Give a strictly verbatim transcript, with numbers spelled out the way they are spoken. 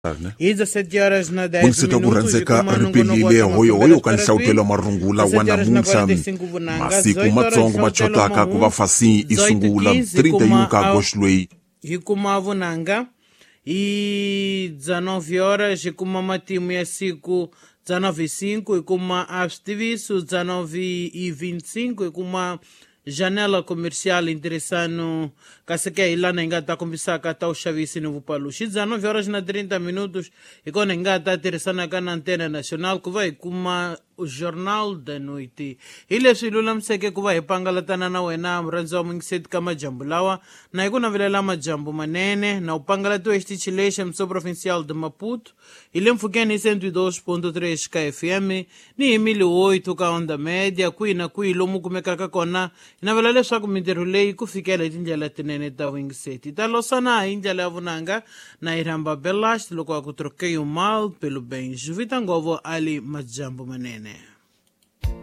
Hi dezessete horas na dez Vungiseta ku minutos rhandzeka hi kuma ri nongonoko wa pelile ta hoyohoyo mafumbela ka nhlawutelo wa marungula wa dezessete horas na namuntlha quarenta e cinco vunanga masiku dezoito horas matsongo ma nhlawutelo chotaka ku va mahungu fasi i dezoito sungula quinze hi trinta e um kuma ka a agosto loyi hi kuma vunanga hi dezenove horas hi kuma matimu ya siku dezenove e cinco hi kuma a switiviso dezenove e vinte e cinco hi kuma janela comercial interessano kasi ke hi lana hi nga ta kombisaka ta vuxavisi ni vupaluxi dezenove horas na trinta minutos hi kona hi nga ta tirhisanaka na antena national ku va hi kuma Jornal da Noite. Hi leswi hi lulamiseke ku va hi pangalatana na wena murhandzi wa mungiseti ka majambu lawa na hi ku navelela majambu manene na u pangalatiwa hi xitichi lexi mso provincial de Maputo hi le mpfhukeni hi cento e dois ponto três ka F M ni hi mil oito ka onda média kwihi na kwihi lomu kumekaka kona. Hi navela leswaku mintirho leyi ku fikela hi tindlela tinene ta vuyingiseti ta losana hi ndlela ya vunanga na hi rhamba belast loko a ku troquei o mal pelo bem. Juvita Ngovo ali majambu manene.